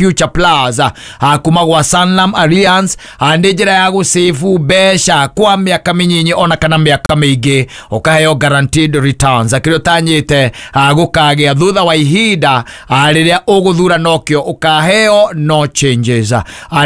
Future Plus kuma gwa Sanlam Alliance nĩ njĩra ya gũsave mbeca kwa mĩaka mĩnyinyi ona kana mĩaka mĩingĩ, ũkaheo guaranteed returns kĩrĩa ũtanyĩte gũkagĩa thutha wa ihinda rĩrĩa ũgũthura nokĩo ũkaheo, no changes.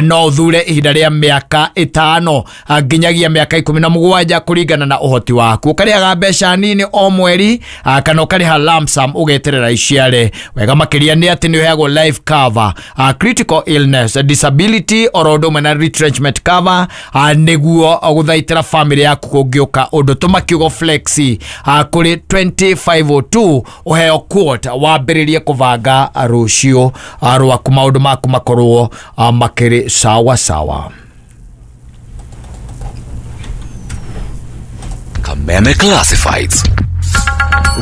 No ũthure ihinda rĩa mĩaka 5 nginyagia mĩaka 17 kũringana na ũhoti waku, ũkarĩhaga mbeca nini o mweri kana ũkarĩha lump sum ũgeterera iciare. Wega makĩria nĩ atĩ nĩ ũheagwo life cover, critical illness, disability, oro ũndũ ũmwe na retrenchment cover nĩguo gũthaitĩra family yaku kũngĩũka ũndũ. Tũma kiugo flexi kũrĩ 2502 ũheo quote wambĩrĩrie kũbanga rũciũ rwaku, maũndũ maku makorwo makĩrĩ sawa sawa. Kameme Classifieds.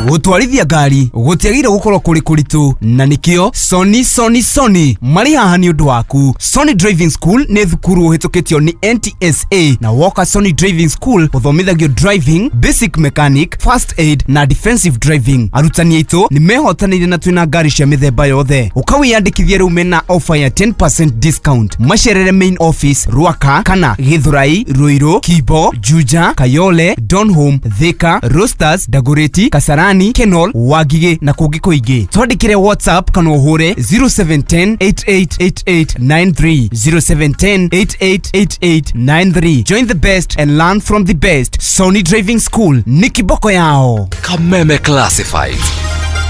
Gũtwarithia ngari gũtiagĩrĩire gũkorwo kũrĩ kũritũ, na nĩkĩo Sony Sony Sony marĩ haha nĩ ũndũ waku. Sony Driving School nĩ thukuru ũhĩtũkĩtio nĩ NTSA, na woka Sony Driving School ũthomithagio driving, basic mechanic, first aid na defensive driving. Arutani aitũ nĩ mehotanĩire na twĩna ngari cia mĩthemba yothe. Ũkawĩyandĩkithia rĩu mena offer ya 10% discount. Macerere main office Ruaka kana Githurai, Ruiru, Kibo, Juja, Kayole, Donholm, Thika, Roasters, Dagoretti, Kasarani, Kenol, Wangige na kũngĩ kũingĩ. Twandĩkĩre WhatsApp kana ũhũre 0710 888893, 0710 888893. Join the best and learn from the best. Sony Driving School nĩ kiboko yao. Kameme Classifieds.